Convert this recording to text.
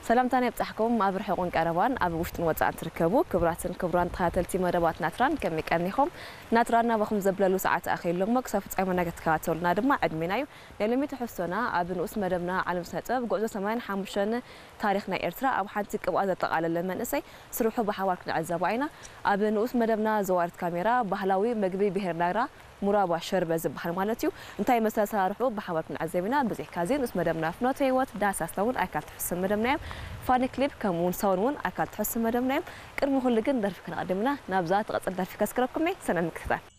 ሰላምታና ይብጻሕኩም። ኣብ ርሑቕን ቀረባን፣ ኣብ ውሽጥን ወጻእን ትርከቡ ክቡራትን ክቡራን ተኸታተልቲ መደባት ናትራን፣ ከመይ ቀኒኹም? ናትራና ብኹም ዘብለሉ ሰዓት ኣኺሉ እሞ ክሳብ ፍጻሜና ክትከታተሉና ድማ ዕድሜና እዩ። ናይ ሎሚ ትሕዝቶና ኣብ ንኡስ መደብና ዓለም ስነ ጥበብ ጉዕዞ ሰማንያን ሓሙሽተን ታሪኽ ናይ ኤርትራ ኣብ ሓንቲ ቅብኣ ዘጠቓለለ መንእሰይ ስርሑ ብሓባር ክንዕዘቦ ኢና። ኣብ ንኡስ መደብና ዘዋርት ካሜራ ባህላዊ መግቢ ብሄር ናይራ ሙራባ ሸርበ ዝበሃል ማለት እዩ። እንታይ መሰል ኣሰራርሑ ብሓባር ክንዕዘብ ኢና። ብዘይካዚ ንኡስ መደብና ፍኖተ ህይወት ዳህሳስና እውን ኣካል ትሕዝቶ መደብና እዮም። ፋኒ ክሊፕ ከምኡ እውን ሳውን እውን ኣካል ትሕዝቶ መደብና እዮም። ቅድሚ ኩሉ ግን ደርፊ ከነቐድም ኢና። ናብዛ ትቐጽል ደርፊ ከስክረኩም እየ። ሰናይ ምክትታል።